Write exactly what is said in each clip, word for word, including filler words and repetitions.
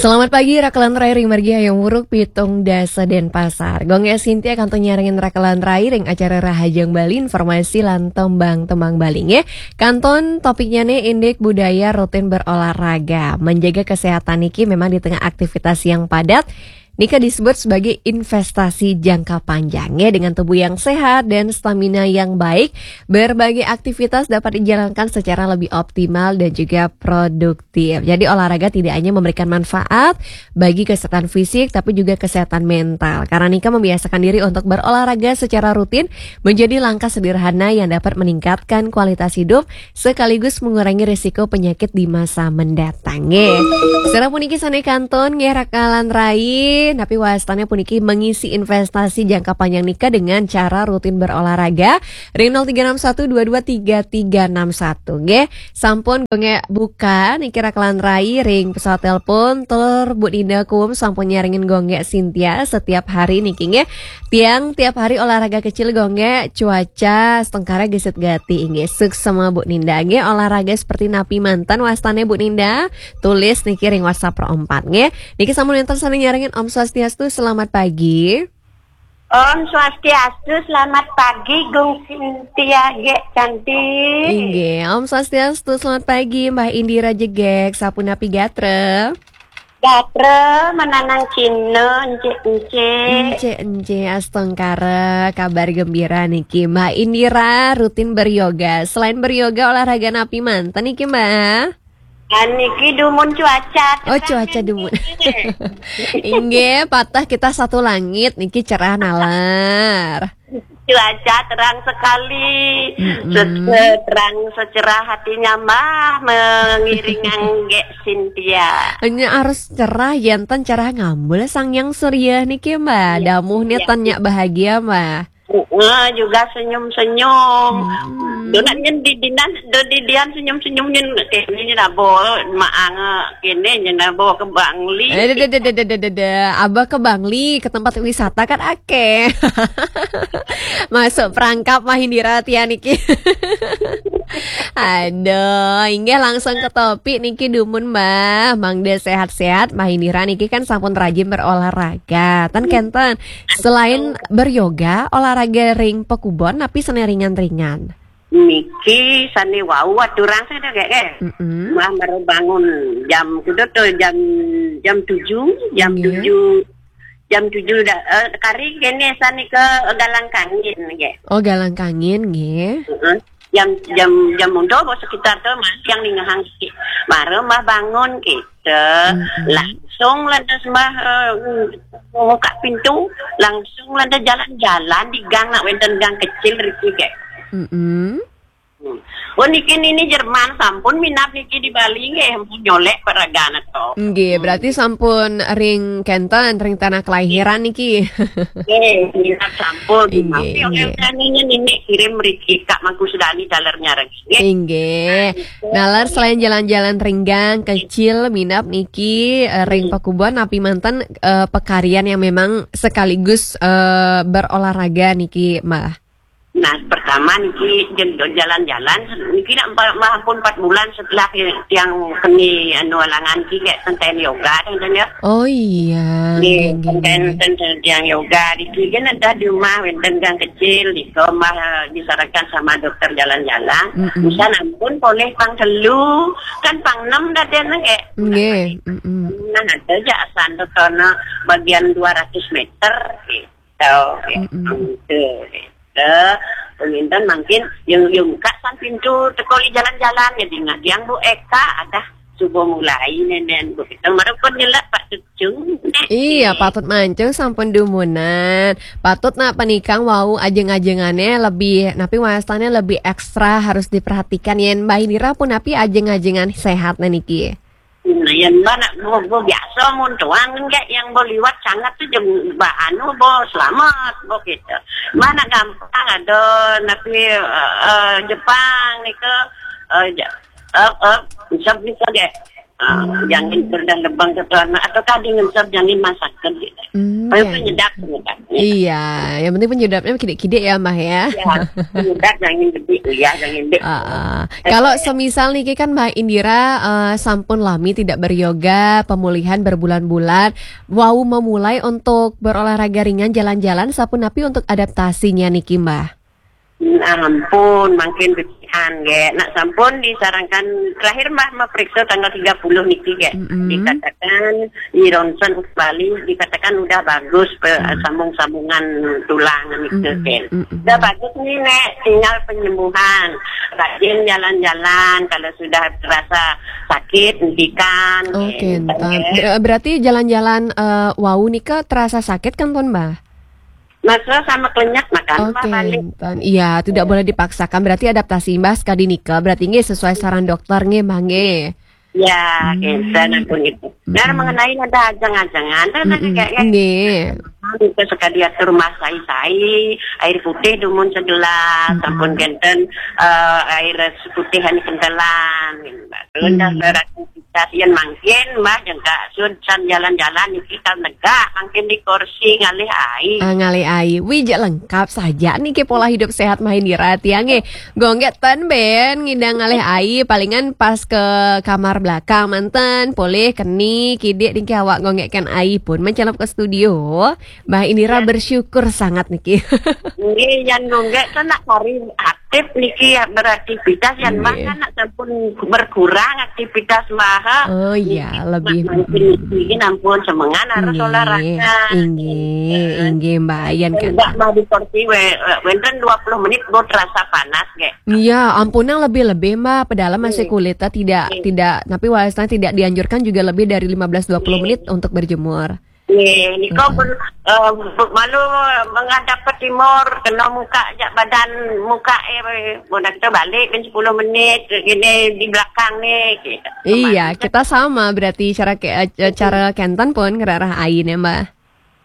Selamat pagi, Rakelan Rai ring margi Hayam Wuruk, Pitung Dasa, Denpasar. Gong Sintia kantun nyarengin Rakelan Rai ring acara Rahajeng Bali, informasi lan tembang-tembang Bali, nggih. Kantun topiknya nih indik budaya rutin berolahraga. Menjaga kesehatan niki memang di tengah aktivitas yang padat, nika disebut sebagai investasi jangka panjang, ya, dengan tubuh yang sehat dan stamina yang baik, berbagai aktivitas dapat dijalankan secara lebih optimal dan juga produktif. Jadi, olahraga tidak hanya memberikan manfaat bagi kesehatan fisik, tapi juga kesehatan mental. Karena nika membiasakan diri untuk berolahraga secara rutin menjadi langkah sederhana yang dapat meningkatkan kualitas hidup sekaligus mengurangi risiko penyakit di masa mendatang, nggih. Sareng puniki sane kantun, nggih, Rakelan Rai, napi wastane puniki mengisi investasi jangka panjang nika dengan cara rutin berolahraga ring nol tiga enam satu dua dua tiga tiga enam satu, nggih. Sampun gong buka niki Rakelan Rai ring pesawat telepon, tur Bu Ninda Kum sampun nyarengin gong Sintia setiap hari niki, nggih. Tiang tiap hari olahraga kecil gong, cuaca setengkara gesit gati, inggih. Suksma Bu Ninda, nggih, olahraga seperti napi manten wastane Bu Ninda? Tulis niki ring WhatsApp Pro empat, nggih. Niki sampun wenten sane nyarengin, Om Swastiastu, selamat pagi. Om Swastiastu, selamat pagi, Gung Sintia, gek cantik. Inggih, Om Swastiastu, selamat pagi, Mbah Indira Jegek, sapunapi gatra? Gatra, menanang Cina, encik-encik. Encik-encik, astungkara, kabar gembira niki. Mbah Indira rutin beryoga. Selain beryoga, olahraga napi manten niki, Mbah? Ah, niki dumun cuaca. Oh, terang cuaca niki. Dumun. Inggih, patah kita satu langit niki cerah nalar. Cuaca terang sekali. Mm-mm. Se-, se-, terang secerah hatinya, Mbah, mengiringi gek Sintia. Hanya harus cerah, janten cerah ngambul sang yang surya niki, Mbah. Iya, damuh nih iya, tan nyak bahagia, Mbah. Heeh, juga senyum-senyum. Hmm. Donat nyen di dinan, do di dian senyum-senyum nyen kene nyen abo maang kene nyen abo ke Bangli. Eh, deh, deh, deh, deh, deh, deh, deh, deh. Abah ke Bangli, ke tempat wisata kan ake. Masuk perangkap Mbah Indira tiang niki. Aduh, inggih langsung ke topik niki dumun, Mbah. Mangda sehat-sehat, Mbah Indira niki kan sampun rajin berolahraga. Tan kenten, selain beryoga, olahraga ring pekubon, napi sane ringan-ringan? Niki sane wau aturang sane gek, gek. Mm-mm. Mbah baru bangun jam kudu tuh jam, jam tujuh, jam Nggih. tujuh, jam tujuh da-, eh, kari kene sane ke galang kangin, gek. Oh, galang kangin, nggih. Heeh. Jam, jam, jam mundur bos sekitar tuh masih yang ningehang siki. Baru Mbah bangun gitu. Mm-mm. Langsung lantas Mbah, eh, buka pintu, langsung lantas jalan-jalan di gang, nak wenten gang kecil riki, gek. Mm-mm. Hmm. Oh, niki nini Jerman sampun minab niki di Bali, nggih, ampun nyolek paragana to. Nggih, hmm, berarti sampun ring kenten, ring tanah kelahiran niki. Nggih, minab sampun. Inggih, tapi oleh inggih. Nini, nini kirim riki Kak Mangku Sudani taler nyareng. Nggih. Inggih. Nah, itu. Nalar selain jalan-jalan ring gang kecil, minab niki, eh, ring hmm, pekubon, napi manten, eh, pekarian yang memang sekaligus, eh, berolahraga niki, Mbah? Nah, pertama niki jen-, jalan-jalan, niki nak empat, Mbah ampun empat bulan setelah tiang keni anu alangan niki kayak tenten yoga, tenten ya. Oh iya, nggih, nggih, nggih, nggih. Tenten, tenten tiang yoga, niki kan ada di rumah, wenten gang kecil, di rumah, eh, disarankan sama dokter jalan-jalan. Mm-mm. Bisa nampun boleh pang telu, kan pang enam daden, nggih. Nggih, mm-mm. Nah, ada aja asan tuh karena bagian dua ratus meter, gitu. Mm-mm. Gitu. Eh, penginten mangkin yang, yang buka san pintu teko i jalan-jalan, ya, ingat yang Bu Eka, ada subuh mulai nenen Bu kita marepun nyelak Pak Cucung. Iya, patut mancung sampun dumunan. Patut nak penikang wau ajeng-ajengane lebih, napi wastane lebih ekstra harus diperhatikan yen Mbah Indira pun napi ajeng-ajengan sehat niki. Nah, yen Mbah nak bo, bo biasa mun tuang enggak yang bo liwat sangat tu jem ba anu bo selamat bo gitu. Mbah nak gampang ada napi, eh, eh, Jepang nika, eh, ja-, eh, eh, bisa bisa deh. Ah, jangan berdan lebang ke tuan atau tadi ngesap jangan masakan gitu. Hmm, Paling kan. penyedap, penyedap. Iya, yang penting penyedapnya kidik-kidik ya, Mbah ya. Ya, penyedap jangan gede, ya, jangan gede. Ah, ah. Kalau semisal niki kan Mbah Indira eh, sampun lami tidak beryoga, pemulihan berbulan-bulan, wau memulai untuk berolahraga ringan, jalan-jalan, sapunapi untuk adaptasinya niki, Mbah? Ampun, makin becikan, ge. Nak sampun disarankan terakhir Mbah memeriksa tanggal tiga puluh niki, ge. Mm-mm. Dikatakan di ronsen kembali, dikatakan udah bagus pe- Mm. sambung-sambungan tulang niki, Mm-mm. ge. Mm-mm. Udah bagus nih, Nek, tinggal penyembuhan. Rajin jalan-jalan kalau sudah terasa sakit, hentikan. Oke, Gitu, entan. ya. Ber- Berarti jalan-jalan eh, wau nika terasa sakit kan pun, Mbah? Masa sama kelenyak makan, Mbah, Oke, balik. entan. Iya, tidak boleh dipaksakan. Berarti adaptasi, Mbah, sekali nika. Berarti nggih sesuai saran dokter nggih, Mbah nggih. Ya, Hmm. gitu, ampun gitu. Dan Mm-mm. mengenai ada ajang-ajangan, kan ada Mm-mm. kayak ya, Nggih. kita sekali atur mas sai-sai, air putih dumun segelas, Mm-mm. sampun kenten eh, air putih anu kentelan, gitu. Terus Hmm. dah beraktivitas yang mangkin, Mbah, jengka sun san jalan-jalan niki kal negak, mangkin di kursi ngalih ai. Ah, ngalih ai. Wih, jak lengkap saja niki pola hidup sehat Mbah Indira tiang nggih. Gonggek ten ben ngidang ngalih ai, palingan pas ke kamar belakang manten, polih keni kidik niki awak gonggek kan ai pun mencelep ke studio. Mbah Indira Ya. Bersyukur sangat niki. Nggih, yang gonggek kan nak hari aktif niki ya beraktivitas, yang Mbah Nggih. Kan nak sampun berkurang aktivitas Mbah. Oh iya, Niki lebih. Mangkin niki ampun semengan harus Nggih, olahraga. inggih, inggih Mbah Yan kan. Enggak Mbah di kursi we, we- wenten dua puluh menit gue terasa panas, ge. Iya, ampun yang lebih-lebih Mbah, padahal masih Iya. kulitnya tidak Iya. tidak tapi walaupun tidak dianjurkan juga lebih dari lima belas dua puluh Iya. menit untuk berjemur. Nih, niko Heeh. ber- eh, malu menghadap ke timur, kena muka jak badan muka eh, bona kita balik kan sepuluh menit gini di belakang nih. Gitu. Iya, Kemarin kita sama berarti cara ke eh, cara kenten pun ngerarah ain ya, Mbah.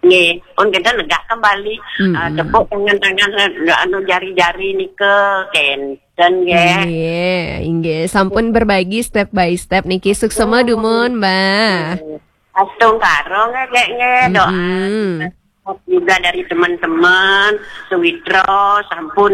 Nggih, pun kita negak kembali. Mm-mm. Ah, tepuk tangan-tangan, eh, anu jari-jari nika kenten nggih. Nggih, inggih. Sampun berbagi step by step niki. Suksema dumun, Mbah. Astung karong nggih, nggih, doa. Mm-mm. Juga dari teman-teman Sewitro, sampun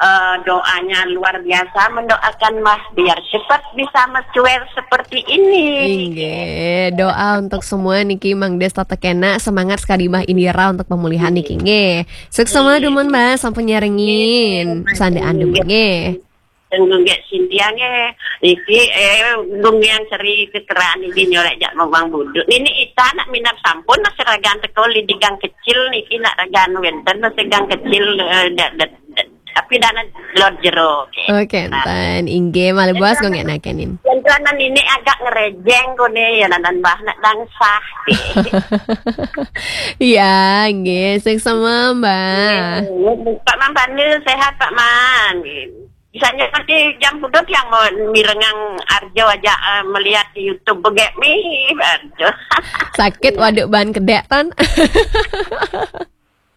eh, doanya luar biasa, mendoakan Mbah biar cepat bisa mencuer seperti ini. Inggih, doa untuk semua niki Mang Des Tata Kena, semangat sekali Mbah Indira untuk pemulihan niki nggih. Suksema dumun Mbah, sampun nyarengin. Sandaan dumun nggih. Tenggung gek Cynthia nggih. Iki eh gung yang seri kekeraan iki nyolek jak mawang buduk. Nini ita nak minat sampun nak seragan teko li di gang kecil niki nak ragan wenten nak gang kecil eh, dak dak dak- tapi dana lot jero. Oke. Oke, enten inggih malih buas gonggek nakenin. Yang tuanan ini agak ngerejeng kone ya nanan Mbah nak dangsah. Iya, nggih, suksema Mbah. Pak Mang Pandu sehat Pak Mang. Misalnya nanti jam pudut yang mau mirengang Arjo aja eh, melihat di YouTube begek mi Arjo. Sakit waduk ban kedek tan.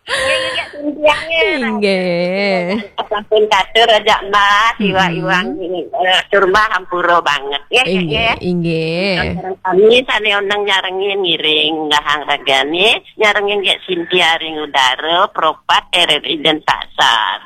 Iya, iya, Cynthia, ya. Inggih. Sampun katur aja Mbah, Mm-mm. iwang-iwang eh, tur Mbah hampura banget ya. Inggih, Ya. inggih. Kami sane oneng nyarengin ngiring dahang ragane, nyarengin gek Cynthia ring udara, Propat R R I Denpasar.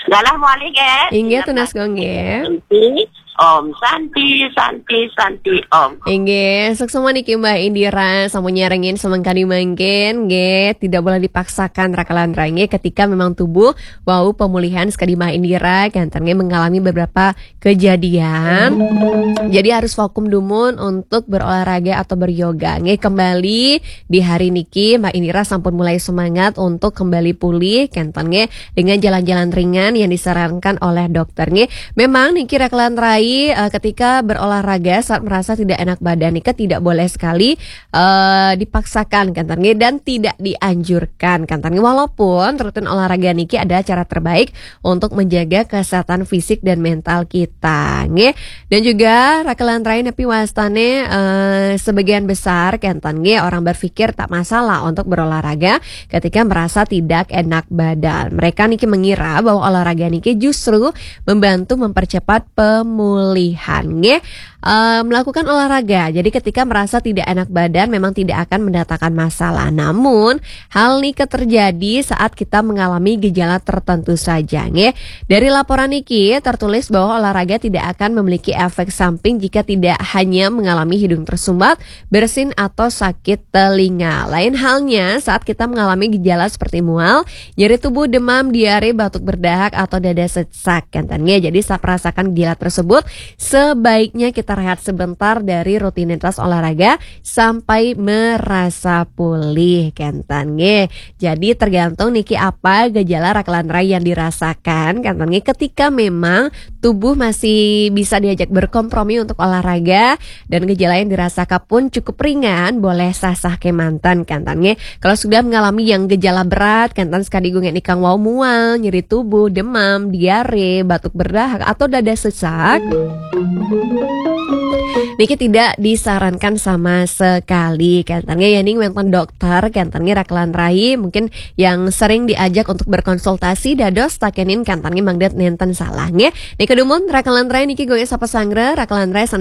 Galah mawali gek. Inggih tunas gonggek. Santi, Om Santi, Santi, Santi, Om. Inggih, suksema niki Mbah Indira, sampun nyarengin semengkani mangkin, nggih, tidak boleh dipaksakan rakalan rangi ketika memang tubuh wau pemulihan sekadi Mbah Indira, kanten nggih mengalami beberapa kejadian. Jadi harus vakum dumun untuk berolahraga atau beryoga. Nggih, kembali di hari niki Mbah Indira sampun mulai semangat untuk kembali pulih, kanten nggih dengan jalan-jalan ringan yang disarankan oleh dokter nggih. Memang niki rakalan rai eh, ketika berolahraga saat merasa tidak enak badan nika tidak boleh sekali eh, dipaksakan kanten nggih dan tidak dianjurkan kanten nggih. Walaupun rutin olahraga niki adalah cara terbaik untuk menjaga kesehatan fisik dan mental kita nggih. Dan juga rakalan rai nepi wastane eh, sebagian besar kanten nggih orang berpikir tak masalah untuk berolahraga ketika merasa tidak enak badan. Mereka niki mengira bahwa olahraga niki justru membantu mempercepat pemulihan nggih. eh, melakukan olahraga. Jadi ketika merasa tidak enak badan memang tidak akan mendatangkan masalah. Namun hal ini terjadi saat kita mengalami gejala tertentu saja, nggih. Dari laporan niki tertulis bahwa olahraga tidak akan memiliki efek samping jika tidak hanya mengalami hidung tersumbat, bersin atau sakit telinga. Lain halnya saat kita mengalami gejala seperti mual, nyeri tubuh, demam, diare, batuk berdahak atau dada sesak, kenten nggih. Jadi saat merasakan gejala tersebut, sebaiknya kita rehat sebentar dari rutinitas olahraga sampai merasa pulih, kenten nggih. Jadi tergantung niki apa gejala rakelan rai yang dirasakan, kenten nggih. Ketika memang tubuh masih bisa diajak berkompromi untuk olahraga dan gejala yang dirasakan pun cukup ringan, boleh sah-sah kemanten, kenten nggih. Kalau sudah mengalami yang gejala berat, kenten sekaligus nggih nikang wau mual, nyeri tubuh, demam, diare, batuk berdahak atau dada sesak, niki tidak disarankan sama sekali, kenten nggih. Yening wenten dokter, kenten nggih, rakelan rai mungkin yang sering diajak untuk berkonsultasi dados takenin, kenten nggih, mangda nenten salah nggih. Niki dumun rakelan rai niki, Gung Esa Pesanggra, rakelan rai